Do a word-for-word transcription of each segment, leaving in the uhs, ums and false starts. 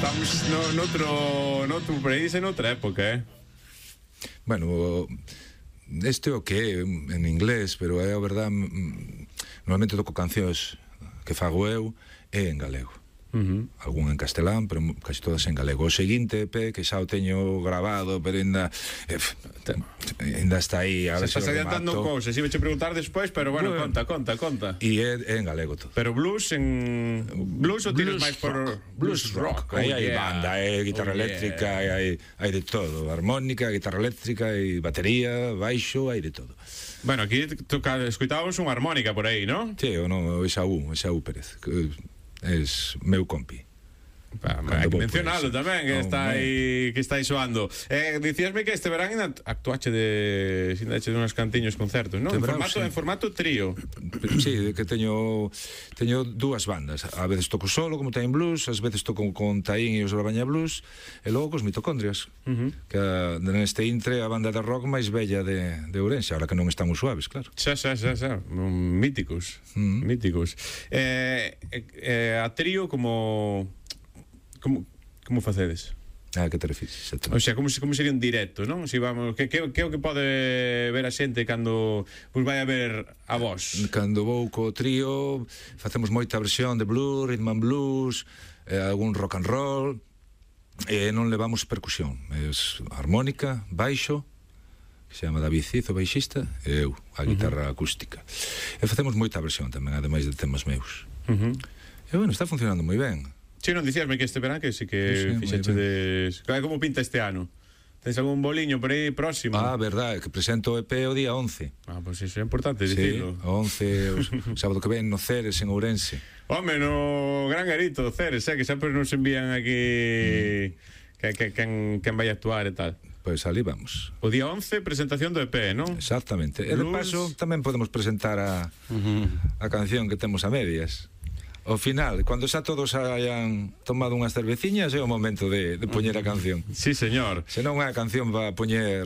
estamos no, noutro, noutro país e noutra época, eh? Bueno, este o que é en inglés, pero é a verdade, normalmente toco cancións que fago eu e en galego. Uh-huh. Algún en castelán, pero casi todas en galego. O seguinte E P, que xa o teño grabado, pero ainda eh, ainda está aí. A se estás adiantando cousas, iba a preguntar despois, pero bueno, bueno, conta, conta, conta. E é, é en galego todo. Pero blues en... Blues ou tienes máis por... Blues rock. Aí hai banda, hai guitarra eléctrica, hai hai de todo. Armónica, guitarra eléctrica, hai batería, baixo, hai de todo. Bueno, aquí toca, escutábamos unha armónica por aí, non? Sí, o non, o Esaú, Esaú Pérez, que es meu compi. Pa, hai que mencionalo tamén, que está aí que está aí soando. Eh, dicíasme que este verán actuache de sin dache de uns cantiños concertos, non? En formato, sí. En formato trío. Sí, que teño teño dúas bandas. A veces toco solo, como Time Blues, ás veces toco con Taín e os Brabaña Blues, e logo cos Mitocondrias, uh-huh. que neste intre a banda de rock máis bella de, de Ourense, ahora que non estamos suaves, claro. Xa, xa, xa, xa. Míticos, uh-huh. míticos. Eh, eh, a trío como... Como, como facedes? Ah, que te refires? O sea, como, como sería un directo, non? Si vamos, que, que, que é o que pode ver a xente cando vos vai a ver a vos? Cando vou co trío facemos moita versión de blues, rhythm and blues, eh, algún rock and roll, e non levamos percusión, es armónica, baixo, que se chama David Cizo, baixista, e eu, a guitarra uh-huh. acústica. E facemos moita versión tamén, ademais de temas meus. Uh-huh. E bueno, está funcionando moi ben. Si, non dicíasme que este verán que si que sí, fixechedes... Como pinta este ano? Tens algún boliño por aí próximo? Ah, verdade, que presento o E P o día once. Ah, pois pues iso é importante dicirlo. Sí, o once, o sábado que ven no Ceres, en Ourense. Home, no Gran Garito, Ceres, eh, que sempre nos envían aquí mm. que, que, que, quen vai a actuar e tal. Pois pues ali vamos. O día once, presentación do E P, non? Exactamente. E de paso tamén podemos presentar a, uh-huh. a canción que temos a medias. Ao final, cando xa todos hayan tomado unhas cerveciñas, é o momento de, de poñer a canción. Sí, señor. Se non a canción va a poñer...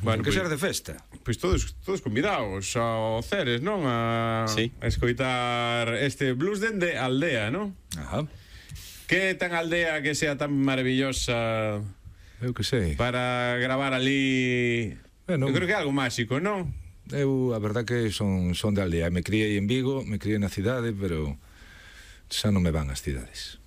Bueno, que pues, ser de festa. Pois pues todos, todos convidados ao Ceres, non? A, sí. a escoitar este blues dende aldea, non? Ajá. Que tan aldea que sea tan maravillosa... Eu que sei. Para gravar ali... Bueno, eu creo que é algo máxico, non? Eu, a verdad que son, son de aldea. Me criei en Vigo, me criei na cidade, pero... xa non me van as cidades.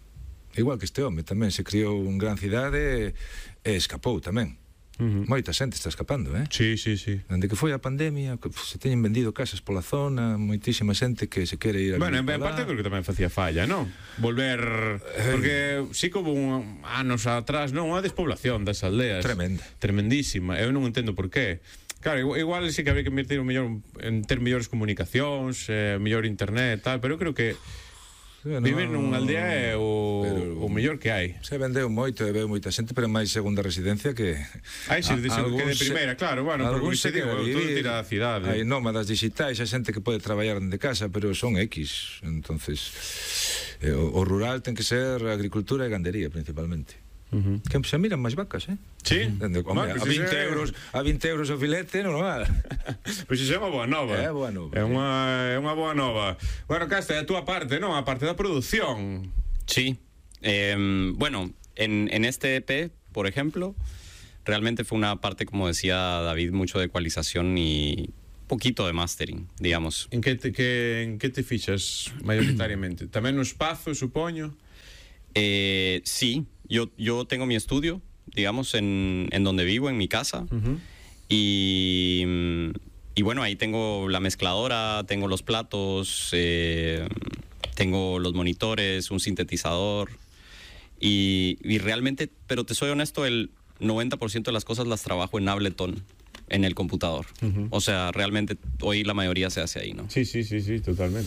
Igual que este home tamén se criou en gran cidade e escapou tamén. Uh-huh. Moita xente está escapando, eh? Sí, sí, sí. Dende que foi a pandemia, que se teñen vendido casas pola zona, moitísima xente que se quere ir a... Bueno, en parte creo que tamén facía falla, non? Volver... Porque sí que houve un anos atrás, non? Unha despoblación das aldeas. Tremenda. Tremendísima. Eu non entendo por qué. Claro, igual, igual sí que había que invertir un mellor en ter mellores comunicacións, eh, mellor internet e tal, pero eu creo que no, vivir nunha aldea é o, pero, o mellor que hai. Se vendeu moito e veu moita xente, pero máis segunda residencia que... Ai, si, que de primeira, claro, bueno, porque se digo, todo tira a cidade. Hai nómadas digitais, hai xente que pode traballar dende casa, pero son X, entonces eh, o, o rural ten que ser agricultura e gandería, principalmente. Uh-huh. Que se miran máis vacas, eh? Sí. Dende, hombre, a vinte euros, a vinte euros o filete, normal. Pois iso é unha boa nova. É boa nova. É unha é unha boa nova. Bueno, Casta, a túa parte, non? A parte da produción. Sí. Eh, bueno, en en este E P, por ejemplo, realmente fue una parte, como decía David, mucho de ecualización y poquito de mastering, digamos. En que te que en que te fixas mayoritariamente? Tamén no espazo, supoño. Eh, sí, yo, yo tengo mi estudio, digamos, en, en donde vivo, en mi casa. Uh-huh. y, y bueno, ahí tengo la mezcladora, tengo los platos, eh, tengo los monitores, un sintetizador. Y, y realmente, pero te soy honesto, el noventa por ciento de las cosas las trabajo en Ableton, en el computador. Uh-huh. O sea, realmente hoy la mayoría se hace ahí, ¿no? Sí, sí, sí, sí, totalmente.